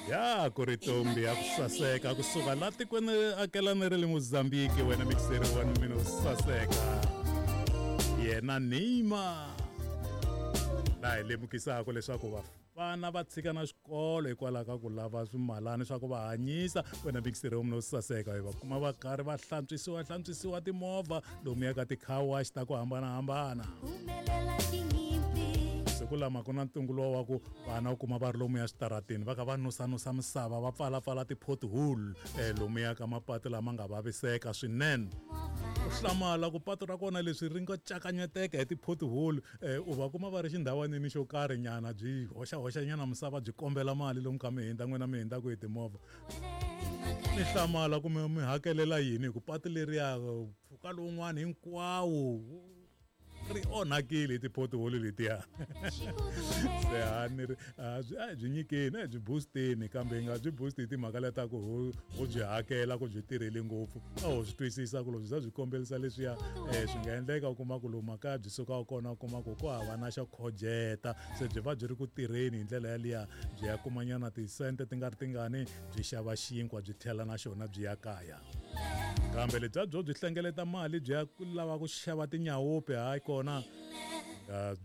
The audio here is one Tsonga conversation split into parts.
Ya ku ri tombi ya ku saseka kusuka la tikweni akelani ra le Mozambique wena mixeri wa mina u saseka yena Neymar laha hi lemukisaka leswaku vafana va tshika na xikolo hikwalaho ka ku lava swimalani swa ku va hanyisa wena mixeri wa mina u saseka hi va kuma va karhi va hlantswisiwa hlantswisiwa timovha lomuya ka ti-car wash ta ku hambanahambana siku lama ku na ntungu lowa wa ku vana u kuma va ri lomuya switarateni va kha va nusanusa misava va pfalapfala ti-pothole um lomuya ka mapatu lama nga vaviseka swinene u hlamala ku patu ra kona leswi ri nga cakanyeteka hi ti-pothole um u va kuma va ri xindhawanini xo karhi nyana byi hoxahoxanyana misava byi kombela mali lomu kha mi hindza n'wina mi hindzaka hi timovha ni hlamala ku mi hakelela yini hi ku patu leriya mpfhuka lowun'wana hinkwawo ri onhakile hi ti-pothole letiya se a ni ri a byi a byi nyikeni a byi boosteni kambe hi nga byi boost hi timhaka leta ku ho ho byi hakela ku byi tirhele ngopfu a ho swi twisisa ku loko byi za byi kombelisa leswiya um swi nga endleka u kuma ku lomu makaya byi sukaka kona u kuma ku ku hava na xo khojeta se byi va byi ri ku tirheni hi ndlela yaliya byi ya kumanyana tisente ti nga ri tingani byi xava xinkwa byi tlhela na xona byi ya kaya kambe lebya byo byi hlengeleta mali byi ya lava ku xava tinyawupe hayi kona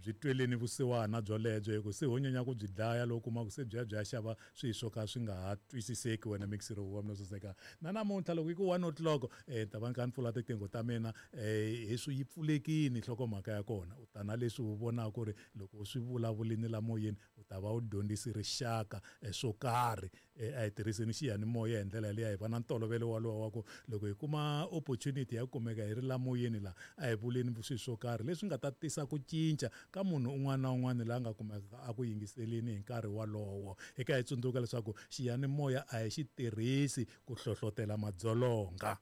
byi tweleni vusiwana byolebyo hi ku se ho nyanya ku byi dlaya loko kuma ku se byi ya byi ya xava swilo swo ka swi nga ha twisiseki wena mixiro wa mina saseka na namuntlha loko yi ku 1 o'clock um ta va ni kha ni pfula tiqingho ta mina um hi swi yi pfulekini nhlokomhaka ya kona u ta na leswi u vonaka ku ri loko u swi vulavulini la moyeni u ta va u dyondzisi rixaka swo karhi a hi tirhiseni xiyanimoya hi ndlela liya hi va na ntolovelo walowo wa ku loko hi kuma opportunity ya ku kumeka hi ri la moyeni la a hi vuleni swilo swo karhi leswi nga ta tisa ku cinca ka munhu un'wana na un'wana la nga kumeka a ku yingiseleni hi nkarhi walowo hi ka hi tsundzuka leswaku xiyanimoya a hi xi tirhisi ku hlohlotela madzolonga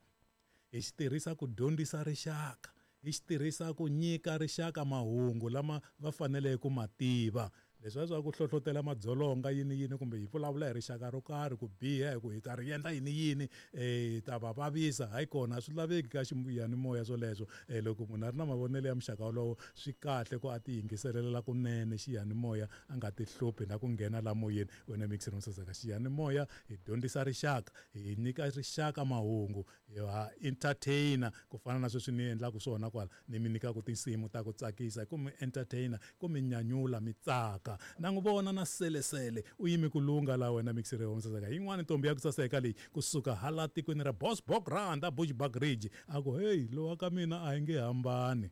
hi xi tirhisa ku dyondzisa rixaka hi xi tirhisa ku nyika rixaka mahungu lama va faneleke ku ma tiva leswi swa ku hlohlotela madzolonga yini yini kumbe hi vulavula hi rixaka ro karhi ku biha hi ku hi ta ri endla yini yini hi ta va vavisa hayi kona a swi laveki ka xiyanimoya swoleswo um loko munhu a ri na mavonelo ya muxaka wolowo swi kahle ku a ti yingiselelela kunene xiyanimoya a nga ti hluphi na ku nghena la moyeni wena mixer saseka xiyanimoya hi dyondzisa rixaka hi nyika rixaka mahungu ha entertainer ku fana na sweswi ni endlaka swona kwala ni mi nyikaka tinsimu ta ku tsakisa ku mi entertainer ku mi nyanyula mi tsaka na n'wi vona na selesele u yimi ku lunga la wena mixer ya saseka yin'wana ntombi ya ku saseka leyi kusuka hala tikweni ra Bosbokrand a Bushbuckridge a ku heyi lowa ka mina a hi nge hambani.